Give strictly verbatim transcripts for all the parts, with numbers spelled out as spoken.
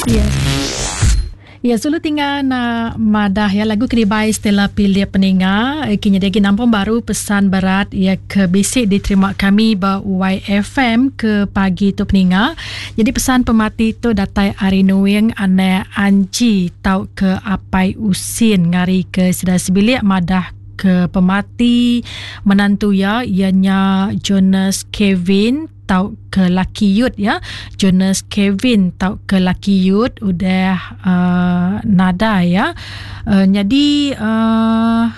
Ya. Ya, sulu tinggal na madah ya lagu keribai Stella Pilih Peninga. Kini dia lagi nampung baru pesan berat ya ke bisik diterima kami ba Y F M ke pagi tu peninga. Jadi pesan pemati tu datai ari Nuing anak Anji tau ke Apai Usin ngari ke sedar sebilik madah ke pemati menantu ya ianya Jonas Kevin tau ke laki yut ya. Jonas Kevin tau ke laki yut udah uh, nada ya. Uh, jadi uh,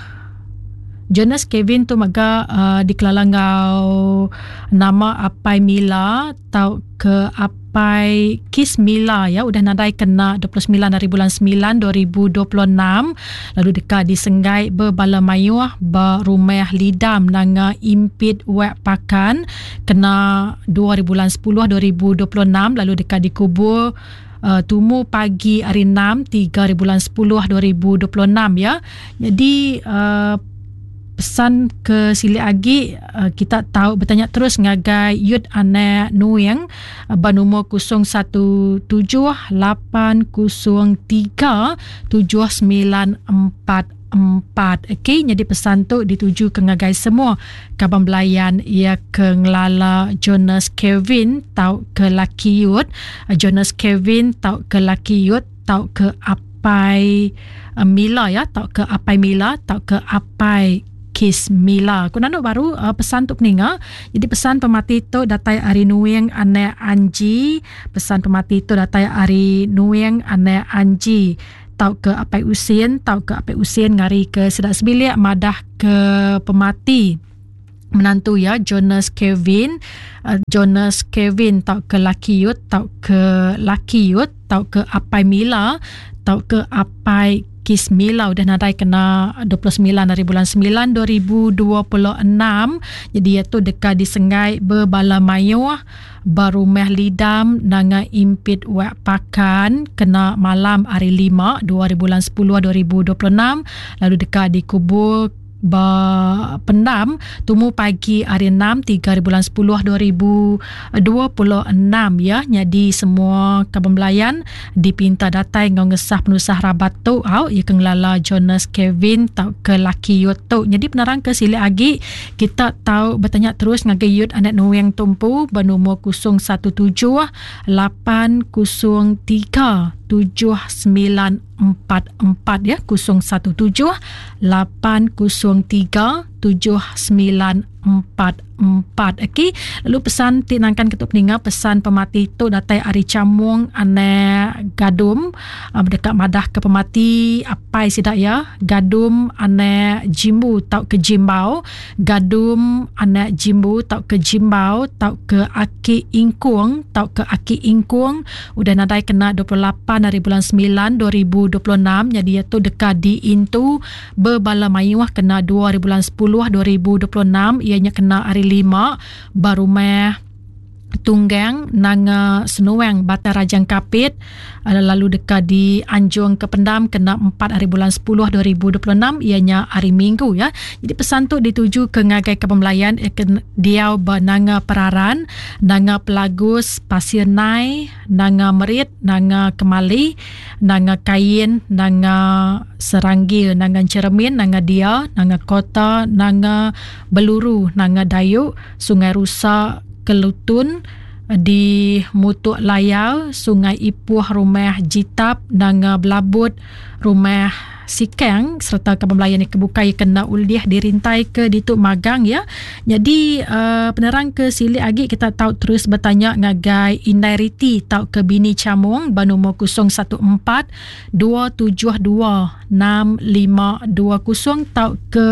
Jonas Kevin tu maga uh, dikelala ngau nama Apai Mila tau ke Apai Kis Mila ya, udah nadai kena dua puluh sembilan hari bulan sembilan dua ribu dua puluh enam, lalu dekat disenggai berbala mayuh ba rumah Lidam nanga Impit Wak Pakan kena dua hari bulan sepuluh dua ribu dua puluh enam, lalu dekat dikubur Uh, tumu pagi hari enam tiga hari bulan sepuluh dua ribu dua puluh enam ya. Jadi uh, pesan ke silik agi uh, kita tahu bertanya terus ngagai Yud Anak Nuing uh, bernombor kosong satu tujuh lapan kosong tiga tujuh sembilan empat empat. Okey, jadi pesan tu dituju ke ngagai semua kaban belayan ia ke ngelala Jonas Kevin tau ke laki Yud, Jonas Kevin tau ke laki Yud tau ke Apai Mila ya, tau ke Apai Mila tau ke Apai Kis Mila. Ku nanduk baru uh, pesan tu peninga. Jadi pesan pemati tu datai ari Nuing anak Anji. Pesan pemati tu datai ari Nuing anak Anji tau ke Apai Usin, tau ke Apai Usin ngari ke sedak sebilik madah ke pemati menantu ya Jonas Kevin, uh, Jonas Kevin tau ke laki Yut, tau ke laki Yut, tau ke Apai Mila, tau ke Apai Kis Mila udah nadai kena dua puluh sembilan hari bulan sembilan dua ribu dua puluh enam. Jadi ia tu dekat disenggai berbala mayuh barumah Lidam nanga Impit Wak Pakan kena malam hari lima dua hari bulan sepuluh dua ribu dua puluh enam, lalu dekat dikubur ba pendam tumu pagi hari enam tiga hari bulan sepuluh dua ribu dua puluh enam ya. Jadi semua kaban belayan dipinta datai ngau ngesah penusah rabat tu au ya ke ngelala Jonas Kevin tau ke laki Yut tu. Jadi penerang ke silik agi kita tahu bertanya terus ngagai Yut anak Nuing Tumpu bernombor kosong satu tujuh lapan kosong tiga tujuh sembilan empat empat ya, kosong satu tujuh lapan kosong tiga tujuh sembilan empat empat. Okey, lalu pesan ti nangkan ketuk peninga pesan pemati tu datai ari Camung anak Gadum uh, dekat madah ke pemati apai sidak ya, Gadum anak Jimbu tau ke Jimbau, Gadum anak Jimbu tau ke Jimbau tau ke Aki Ingkung tau ke Aki Ingkung udah nadai kena dua puluh lapan hari bulan sembilan dua ribu dua puluh enam. Jadi ia tu dekat di Intu berbala mayuh kena dua hari bulan sepuluh dua ribu dua puluh enam, ianya kena hari lima barumah Tunggang Nanga Senuang Batang Rajang Kapit, lalu dekat di Anjung ke Pendam kena empat hari bulan sepuluh dua ribu dua puluh enam, ianya hari Minggu ya. Jadi pesan tu dituju ke ngagai ke pembelayan ke diau ba Nanga Peraran, Nanga Pelagus, Pasir Nai, Nanga Merit, Nanga Kemali, Nanga Kain, Nanga Seranggil, Nanga Ceremin, Nanga Dia, Nanga Kota, Nanga Beluru, Nanga Dayu, Sungai Rusa, Kelutun, di Mutuk Layar, Sungai Ipuh, Rumah Jitap, Nanga Belabut, Rumah Sikang serta kaban belayan yang kebukai kena uliah dirintai ke dituk magang ya. Jadi uh, penerang ke silik agi kita tahu terus bertanya ngagai Indai Riti tau ke Bini Camung bernombor kosong satu empat dua tujuh dua enam lima dua kosong tau ke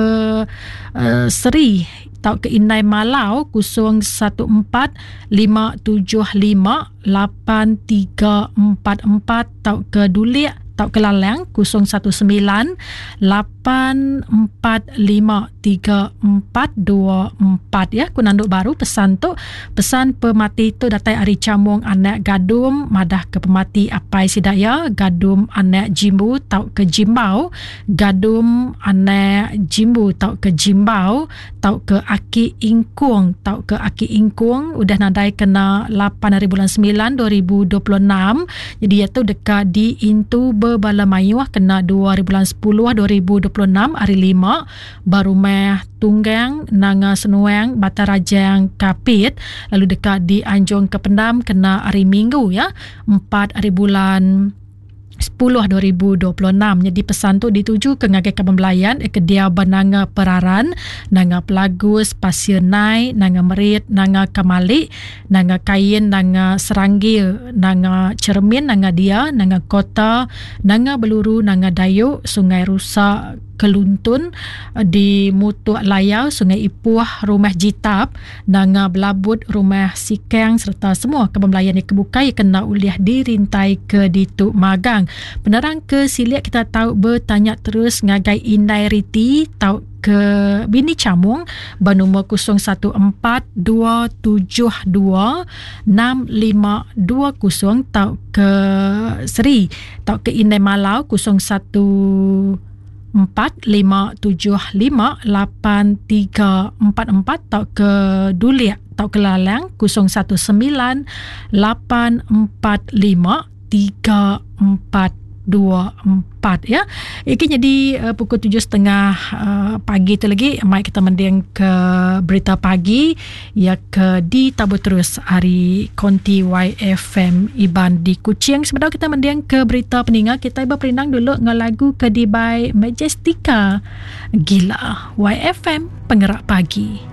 uh, Seri tau ke Indai Malau kosong satu empat lima tujuh lima lapan tiga empat empat tau ke Dulik tau ke Lalang kosong satu sembilan lapan empat lima tiga empat dua empat ya. Ku nanduk baru pesan tu, pesan pemati tu datai ari Camung anak Gadum madah ke pemati apai sidaya Gadum anak Jimbu tau ke Jimbau, Gadum anak Jimbu tau ke Jimbau tau ke Aki Ingkung tau ke Aki Ingkung udah nadai kena lapan hari bulan sembilan dua ribu dua puluh enam. Jadi ia tu dekat di Intu Bebala Mayuh kena dua hari bulan sepuluh dua ribu dua puluh enam hari lima Barumah Tunggang Nanga Senuang Batarajang Kapit, lalu dekat di Anjung ke Pendam kena hari Minggu ya empat hari bulan sepuluh dua ribu dua puluh enam. Jadi pesan tu dituju ke ngagai kaban belayan ke dia Nanga Peraran, Nanga Pelagus, Pasir Nai, Nanga Merit, Nanga Kamalik, Nanga Kain, Nanga Seranggil, Nanga Cermin, Nanga Dia, Nanga Kota, Nanga Beluru, Nanga Dayuk, Sungai Rusak, Keluntun di Mutuk Layau, Sungai Ipuh, Rumah Jitap, Nanga Belabut, Rumah Sikang serta semua kaban belayan yang kebukai kena uliah dirintai ke Ditu Magang. Penerang ke siliak kita tahu bertanya terus ngagai Indai Riti tahu ke Bini Camung bernombor kosong satu empat dua tujuh dua enam lima dua kosong tau ke Seri tau ke Indai Malau kosong satu empat lima tujuh lima lapan tiga empat empat tau ke Duliak tau ke Lalang kosong satu sembilan lapan empat lima tiga empat dua empat ya. Iki jadi uh, pukul tujuh setengah uh, pagi tu lagi mai kita mending ke berita pagi ya ke di tabu terus hari Konti Y F M Iban di Kuching. Sebenarnya kita mending ke berita peningat kita berperindang dulu dengan lagu ke di by Majestica Gila. Y F M Penggerak Pagi.